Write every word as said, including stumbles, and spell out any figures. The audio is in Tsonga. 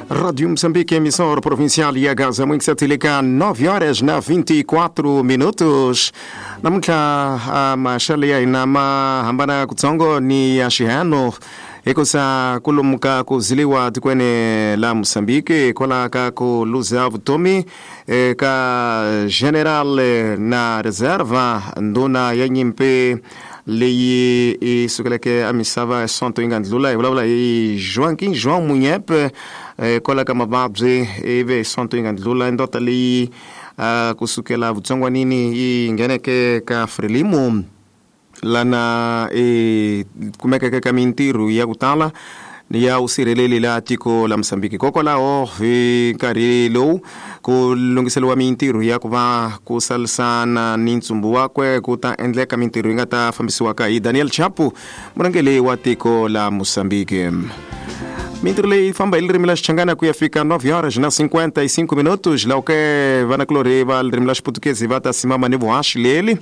Rádio Moçambique, emissora provincial ya Gaza, Mwinkisatilika, nove horas na vinte e quatro minutos. Namuntlha maxelo ya hina ma hambana kutsongo ni ya xihano hikusa kulomuka ku ziliwa tikweni la Moçambique kwala ka ku luza vutomi ka general na reserva ndhuna ya nyimpi leyi i sukeleke a misava sonto yi nga ndlula. Hi vulavula hi Joaquim João Munyepe kwala ka mavabyi ivi sonto yi nga ndlula ndota leyi kusukela vutsongwanini yi ngheneke ka Frelimo lana i kumekeke ka mintirho ya ku tala ya usirheleli la tiko la Mozambique. Kokwalaho hi nkarhi lowu ku lunghiseriwa mintirho ya ku va ku salisana ni ntsumbu wakwe ku ta endleka mintirho yi nga ta fambisiwaka hi Daniel Chapo, murhangeri wa tiko la Mozambique. Mintirho leyi famba hi ririmi la Xichangana ku ya fika nove horas na cinquenta e cinco minutos. Laha ke vanakulorhi va ririmi la Xiputukezi va ta simama ni vuhaxi leli.